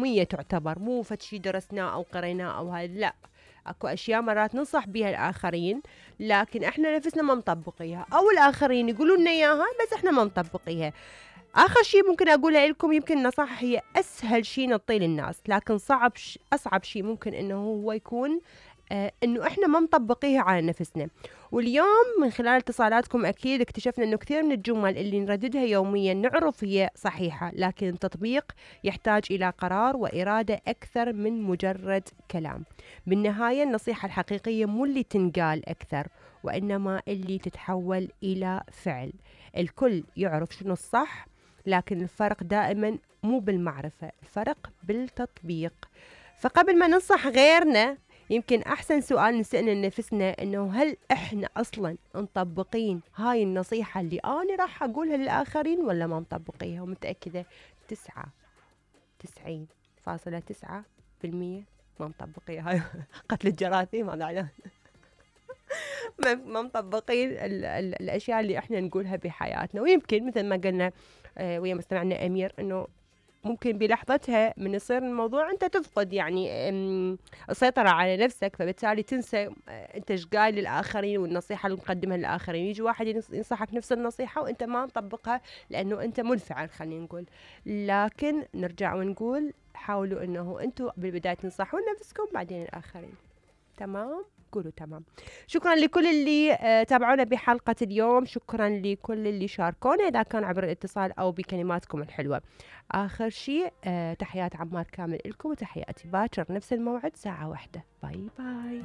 يومية تعتبر، مو فد شي درسناه أو قريناه أو هاي، لا، اكو اشياء مرات ننصح بيها الاخرين لكن احنا نفسنا ما مطبقيها، او الاخرين يقولون لنا اياها بس احنا ما مطبقيها. اخر شي ممكن اقولها لكم، يمكن النصائح هي اسهل شي نعطيه للناس، لكن اصعب شي ممكن انه هو يكون انه احنا ما مطبقيها على نفسنا. واليوم من خلال اتصالاتكم اكيد اكتشفنا انه كثير من الجمل اللي نرددها يوميا نعرف هي صحيحة، لكن التطبيق يحتاج الى قرار وارادة اكثر من مجرد كلام. بالنهاية النصيحة الحقيقية مو اللي تنقال اكثر، وانما اللي تتحول الى فعل. الكل يعرف شنو الصح، لكن الفرق دائما مو بالمعرفة، الفرق بالتطبيق. فقبل ما ننصح غيرنا، يمكن أحسن سؤال نسأله لنفسنا إنه هل إحنا أصلا مطبقين هاي النصيحة اللي أنا راح أقولها للآخرين ولا ما مطبقيها؟ ومتأكدة 99.9% ما مطبقيها. هاي قتل الجراثيم هذا على ما مطبقين الأشياء اللي إحنا نقولها بحياتنا. ويمكن مثل ما قلنا ويا مستمعنا أمير إنه ممكن بلحظتها من يصير الموضوع انت تفقد يعني السيطرة على نفسك، فبالتالي تنسى انت ايش قايل للآخرين والنصيحة اللي مقدمها للآخرين. يجي واحد ينصحك نفس النصيحة وانت ما مطبقها لانه انت منفعل، خلينا نقول. لكن نرجع ونقول حاولوا انه انتم بالبداية تنصحون نفسكم بعدين الآخرين. تمام؟ قولوا تمام. شكرا لكل اللي تابعونا بحلقة اليوم، شكرا لكل اللي شاركونا إذا كان عبر الاتصال أو بكلماتكم الحلوة. آخر شيء تحيات عمار كامل لكم، وتحياتي باكر نفس الموعد ساعة 1. باي باي.